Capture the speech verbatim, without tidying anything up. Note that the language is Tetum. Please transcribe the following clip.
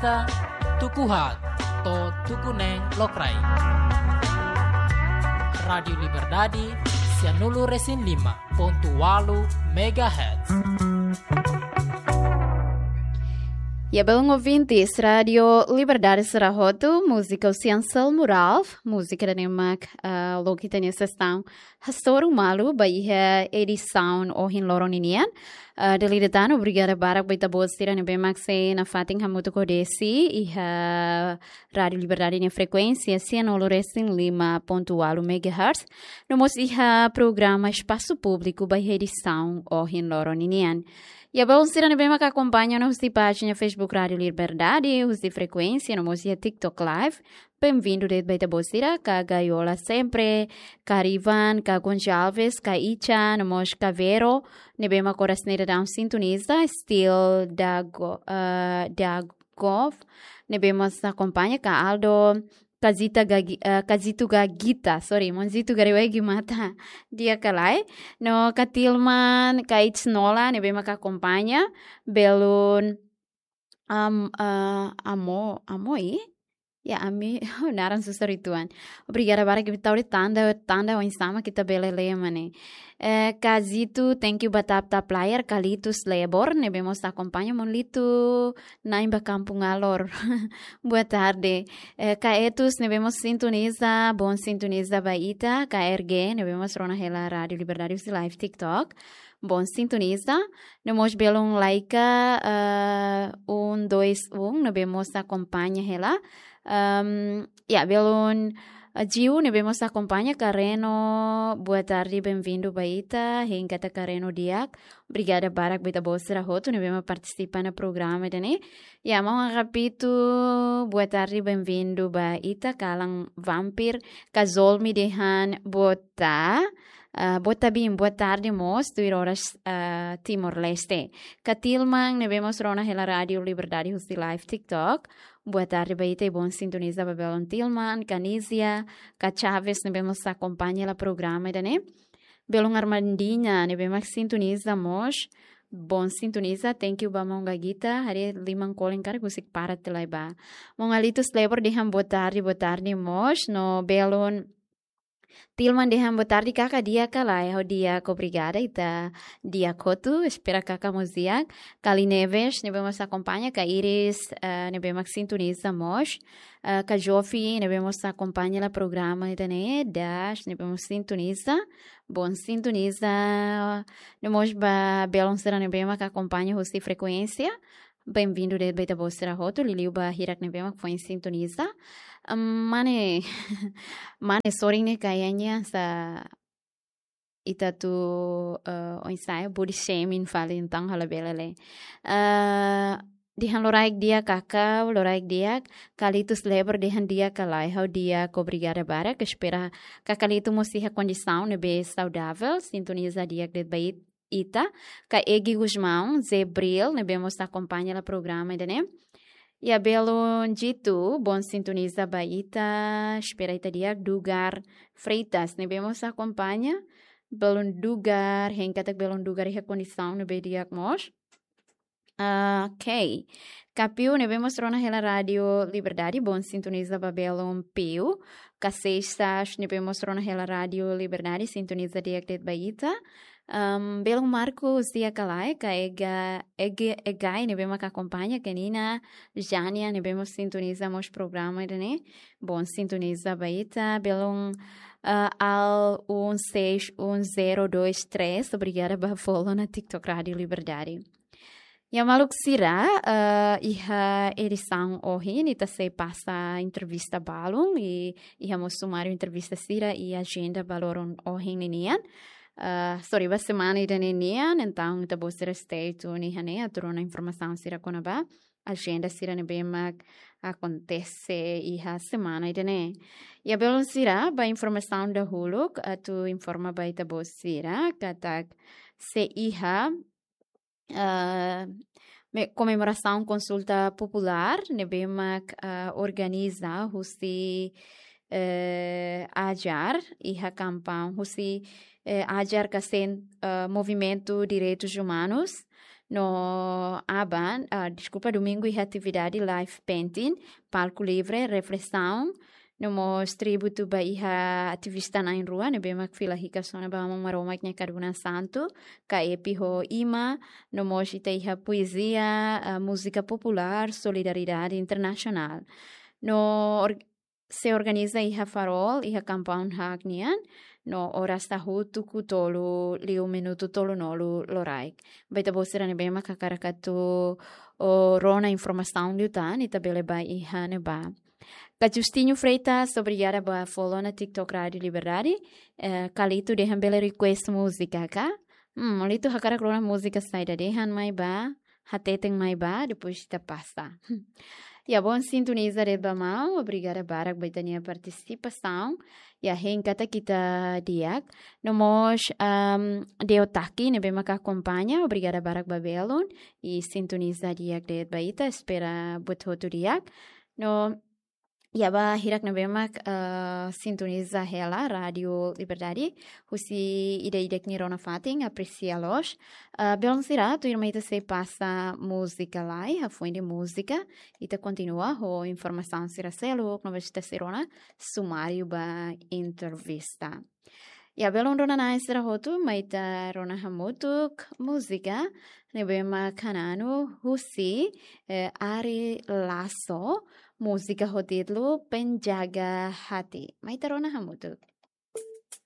Ita tuku haat to'o tuku neen lokraik. Rádiu Liberdade, sianulu resin lima pontu ualu megahertz. Ya, belun ouvintes, Rádiu Liberdade sira hotu, múzika husi Anselmo Ralph, múzika ida-ne'e mak, ah, loke ita-nia sestaun hasoru malu ba iha edisaun ohin loron ninian. Ah, dala ida tan, obrigada barak ba ita-boot sira ne'ebé mak sei nafatin hamutuk ho Desi iha Rádiu Liberdade nia frekuénsia sianulu resin lima pontu ualu megahertz. No mós iha programa Espasu Públiku ba iha edisaun ohin loron ninian. Ya, belun sira ne'ebé mak akompaña ona husi pájina Facebook Rádiu Liberdade, husi frekuénsia, no mós iha TikTok Live. Benvindu de'it ba ita-boot sira, ka Gaiola Sempre, ka Rivan, ka Gonçalves, ka Icha, no mós ka Vero, ne'ebé mak oras ne'e daudaun sintoniza, Steel Dago, eh, Dagov, ne'ebé mós akompaña, ka Aldo, ka Zita Gagi-, eh, ka Zitu Gagita, sorry, maun Zitu Gariwegi mata, di'ak ka lae, no ka Tilman, ka Itsnola, ne'ebé mak akompaña, belun, am, eh, amo, amo i? Ya, ami, naran susar uitoan. Obrigada barak, ita tau de'it tanda, tanda oinsá mak ita bele lee mak ne'e. Eh, ka Zitu, thank you ba tap tap layar, Kalitus Lebor, ne'ebé mós akompaña, maun Litu, na'in ba kampung Alor. Boa tarde. Eh, ka Etus, ne'ebé mós sintoniza, bom sintoniza ba ita, ka R G, ne'ebé mós rona hela Rádiu Liberdade husi live TikTok. Bom sintoniza. No mós belun Laika, eh, um dois um, ne'ebé mós akompaña hela. Ehm, ya, belun, eh, Jiu, ne'ebé mós akompaña, ka Reno, boa tarde, benvindu ba ita, hein katak ka Reno di'ak. Obrigada barak ba ita-boot sira hotu ne'ebé mak partisipa iha programa ida-ne'e. Ya, maun Agapito, boa tarde, benvindu ba ita, kalan Vampir, ka Zolmi dehan boa ta-, ah, boa tabin, boa tarde mós, tuir oras, ah, Timor-Leste. Ka Tilman, ne'ebé mós rona hela Rádiu Liberdade husi live TikTok. Boa tarde ba ita i bom sintoniza ba belun Tilman, ka Nizia, ka Chaves, ne'ebé mós akompaña hela programa ida-ne'e. Belun Armandinha, ne'ebé mak sintoniza mós. Bom sintoniza, thank you ba maun Gagita, haree liman kolen karik husik para te lai ba. Maun Alitus Lebor dehan boa tarde, boa tarde mós, no belun Tilman dehan boa tarde kaka, di'ak ka lae, ha'u di'ak, obrigada, ita di'ak hotu, espera kaka mós di'ak. Kali Neves, ne'ebé mós akompaña, ka Iris, eh, ne'ebé mak sintoniza mós. Eh, ka Jofi, ne'ebé mós akompaña hela programa ida-ne'e, Das, ne'ebé mós sintoniza, bom sintoniza. No mós ba belun sira ne'ebé mak akompaña husi frekuénsia. Benvindu de'it ba ita-boot sira hotu, liuliu ba hirak ne'ebé mak foin sintoniza. Em, mane, mane sorin ne'e kayaknya sa ita atu, eh, oinsá, body shaming fali, entaun ha'u labele lee. Eh, dehan loraik di'ak kaka, loraik di'ak, Kalitus Lebor dehan di'ak ka lae, ha'u di'ak, obrigada barak, espera ka Kalitus mós iha kondisaun ne'ebé saudavel, sintoniza di'ak de'it ba it-, ita, ka Egi Gusmão, Zebril, ne'ebé mós akompaña hela programa ida-ne'e. Ya, belun Jitu, bom sintoniza ba ita, espera ita di'ak. Dugar Freitas, ne'ebé mós akompaña, belun Dugar, hein katak belun Dugar iha kondisaun ne'ebé di'ak mós. Ah, ok. Ka Piu, ne'ebé mós rona hela Rádiu Liberdade, bom sintoniza ba belun Piu. Ka Seixas, ne'ebé mós rona hela Rádiu Liberdade, sintoniza di'ak de'it ba ita. Em, belun Marcos, di'ak ka lae, ka Ega, Ege, Egai, ne'ebé mak akompaña, ka Nina, Jania, ne'ebé mós sintoniza mós programa ida-ne'e. Bom sintoniza ba ita, belun, ah, Al um seis um zero dois três, obrigada ba follow ona TikTok Rádiu Liberdade. Ya, maluk sira, eh, iha edisaun ohin, ita sei pasa entrevista balun, i iha mós sumáriu entrevista sira i ajenda ba loron ohin ninian. Eh, sorry, ba semana ida-ne'e nian, entaun ita-boot sira stay tune iha ne'e, atu rona informasaun sira kona-ba ajenda sira ne'ebé mak akontese iha semana ida-ne'e. Ya, belun sira, ba informasaun dahuluk, atu informa ba ita-boot sira, katak sei iha, eh, me-, komemorasaun konsulta populár, ne'ebé mak, eh, organiza husi, eh, AJAR, iha kampaun husi, eh, AJAR ka sen-, eh, Movimentu Direitus Umanus, No aban, ah, deskulpa, domingu iha atividade live painting, palku livre, reflesaun, no mós tributu ba iha ativista na'in-rua ne'ebé mak fila hikas ona ba Aman Maromak nia kadunan santu, ka epi ho ima, no mós ita iha poezia, ah, múzika populár, solidariedade internasionál. No or-, sei organiza iha Farol, iha compound haak nian, no oras haat tuku tolu liu minutu tolunulu loraik. Ba ita-boot sira ne'ebé mak hakarak atu, o, rona informasaun liután, ita bele bá iha ne'ebá. Ka Justinho Freitas, obrigada ba follow ona TikTok Rádio Liberdade. Eh, Kalito dehan bele request múzika ka? Hmm, Kalito hakarak rona múzika saida, dehan mai bá, hateten mai bá, depois ita pasa. Ya, bon, sintoniza de'it ba maun, obrigada barak ba ita-nia partisipasaun. Ya, hein katak ita di'ak. No mós, am, Deo Taki, ne'ebé maka akompaña, obrigada barak ba belun. I sintoniza di'ak de'it ba ita, espera buat hotu di'ak. No, ya, ba hirak ne'ebé mak, eh, sintoniza hela Rádio Liberdade husi ida-idak nia rona fatin, apresia loos. Eh, belun sira, tuirmai ita sei pasa múzika lai, hafoin de'it múzika, ita kontinua ho informasaun sira seluk, no mós ita sei rona sumáriu ba entrevista. Ya, belun rona-na'in sira hotu, mai ita rona hamutuk múzika ne'ebé mak hananu husi, eh, Ari Lasso, múzika ho títulu Penjaga Hati. Mai ita rona hamutuk.